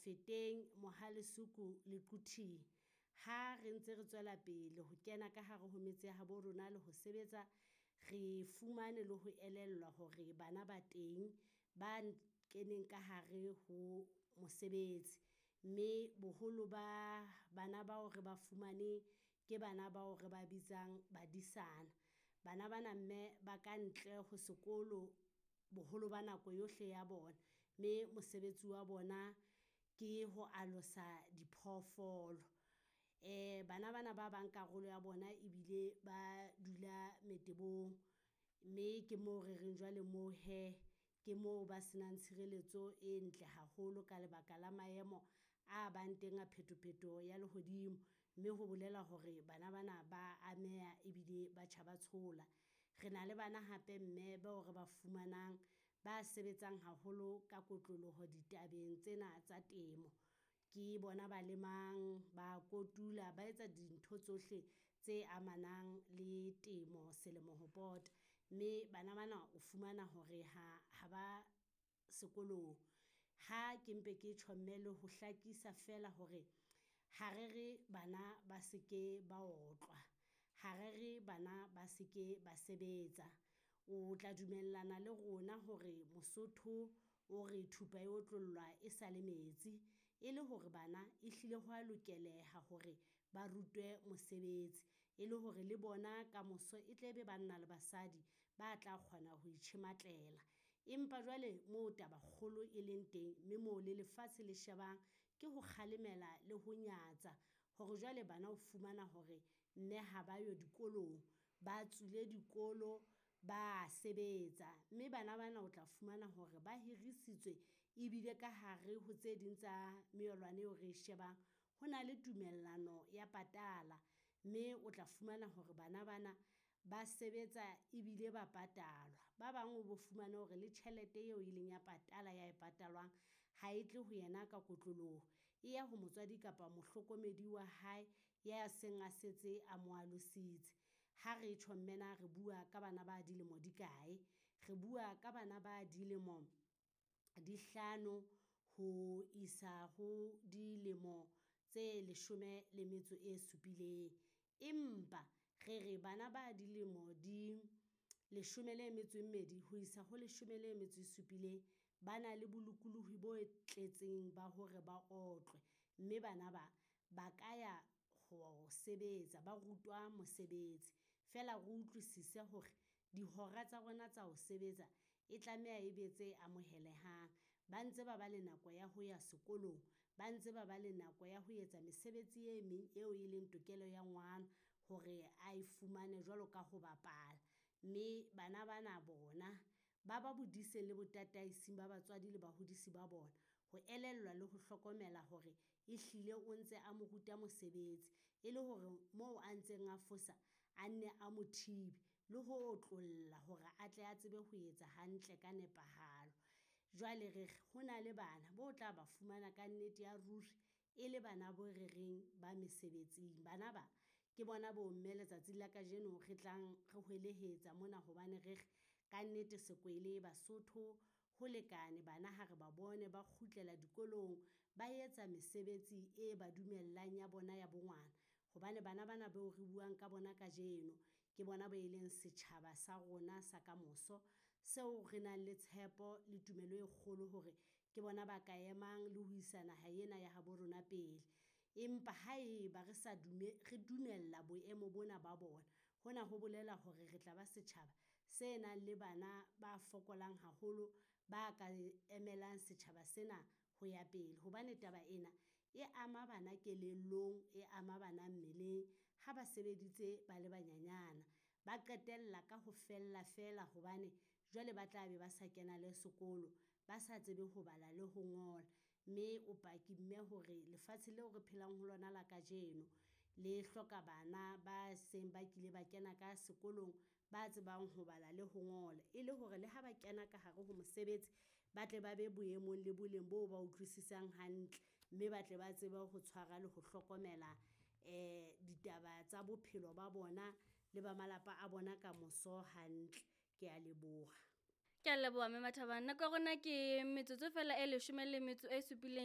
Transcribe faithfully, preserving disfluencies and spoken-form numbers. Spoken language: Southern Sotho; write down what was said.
Mafeteng, Mohale's Hoek le Quthing. Ha re ntse re tswela pele ho kena ka hare ho metse ya habo rona le ho sebetsa, re fumane le ho elellwa hore bana ba teng ba keneng ka hare ho mosebetsi. Mme boholo ba bana bao re ba fumaneng ke bana bao re ba bitsang badisana. Bana ba na mme ba ka ntle ho sekolo boholo ba nako yohle ya bona, mme mosebetsi wa bona ke ho alosa diphoofolo. Bana ba na ba bang karolo ya bona ebile ba dula metebong, mme ke mo re reng jwale moo hee ke mo ba se nang tshireletso e ntle haholo ka lebaka la maemo a bang teng a pheto-phetoho ya lehodimo. Mme ho bolela hore bana ba na ba ameha ebile ba tjha ba tshola. Re na le bana hape mme bao re ba fumanang ba sebetsang haholo ka kotloloho ditabeng tsena tsa temo. Ke bona ba lemang, ba kotula, ba etsa dintho tsohle tse amanang le temo selemo ho pota. Mme bana ba na o fumana hore ha ha ba sekolong. Ha ke mpe ke tjho mme le ho hlakisa feela hore ha re re bana ba se ke ba otlwa, ha re re bana ba se ke ba sebetsa. O tla dumellana le rona hore Mosotho o re thupa e otlollwa e sale metsi. E le hore bana e hlile ho a lokeleha hore ba rutwe mosebetsi, e le hore le bona kamoso e tle be banna le basadi ba tla kgona ho itjhematlela. Empa jwale mo taba kgolo e leng teng, mme mo le lefatshe le shebang ke ho kgalemela le ho nyatsa hore jwale bana o fumana hore mme ha ba yo dikolong, ba tswile dikolo ba sebetsa. Mme bana ba na o tla fumana hore ba hirisitswe ebile ka hare ho tse ding tsa melawana eo re shebang, ho na le tumellano ya patala. Mme o tla fumana hore bana ba na ba sebetsa ebile ba patalwa. Ba bang o bo fumane hore le tjhelete eo e leng ya patala ya e patalwang ha e tle ho yena ka kotloloho. E ya ho motswadi kapa mohlokomedi wa hae ya seng a setse a mo alositse. Ha re tjho mme na re bua ka bana ba dilemo di kae? Re bua ka bana ba dilemo di hlano ho isa ho dilemo tse leshome le metso e supileng. Empa re re bana ba dilemo di leshome le metso e mmedi ho isa ho leshome le metso e supileng, ba na le bolokolohi bo tletseng ba hore ba otlwe. Mme bana ba ba ka ya ho sebetsa, ba rutwa mosebetsi. Feela re utlwisise hore dihora tsa bona tsa ho sebetsa e tlameha e be tse amohelehang. Ba ntse ba ba le nako ya ho ya sekolong, ba ntse ba ba le nako ya ho etsa mesebetsi e meng eo e leng tokelo ya ngwana hore a e fumane jwalo ka ho bapala. Mme bana ba na bona ba ba bodiseng le botataising ba batswadi le bahodisi ba bona. Ho elellwa le ho hlokomela hore ehlile o ntse a mo ruta mosebetsi, e le hore moo a ntseng a fosa a nne a mo thibe le ho otlolla hore atle a tsebe ho etsa hantle ka nepahalo. Jwale re re ho na le bana bo tla ba fumana ka nnete ya ruri e le bana bo re reng ba mesebetsing. Bana ba ke bona bo mme letsatsing la kajeno re tlang re hwelehetsa mona hobane re re ka nnete sekwele Basotho ho lekane bana ha re ba bone ba kgutlela dikolong, ba etsa mesebetsi e ba dumellang ya bona ya bo ngwana. Hobane bana ba na bao re buang ka bona kajeno, ke bona ba e leng setjhaba sa rona sa kamoso. Seo re nang le tshepo le tumelo e kgolo hore ke bona ba ka emang le ho isa naha ena ya habo rona pele. Empa ha e ba re sa dume re dumella boemo bona ba bona, hona ho bolela hore re tla ba setjhaba se nang le bana ba fokolang haholo, ba ka emelang setjhaba sena ho ya pele. Hobane taba ena e ama bana kelellong, e ama bana mmeleng ha ba sebeditse ba le banyenyana. Ba qetella ka ho fella feela hobane jwale ba tla be ba sa kena le sekolo, ba sa tsebe ho bala le ho ngola. Mme o paki mme hore lefatshe leo re phelang ho lona la kajeno le hloka bana ba seng ba kile ba kena ka sekolong, ba tsebang ho bala le ho ngola. E le hore le ha ba kena ka hare ho mosebetsi, ba tle ba be boemong le boleng bo ba utlwisisang hantle. Mme ba tle ba tsebe ho tshwara le ho hlokomela ditaba tsa bophelo ba bona le ba malapa a bona kamoso hantle. Kea leboha. Ke a leboha Mme Mathabang. Nako ya rona ke metsotso fela e leshome le metso e supileng.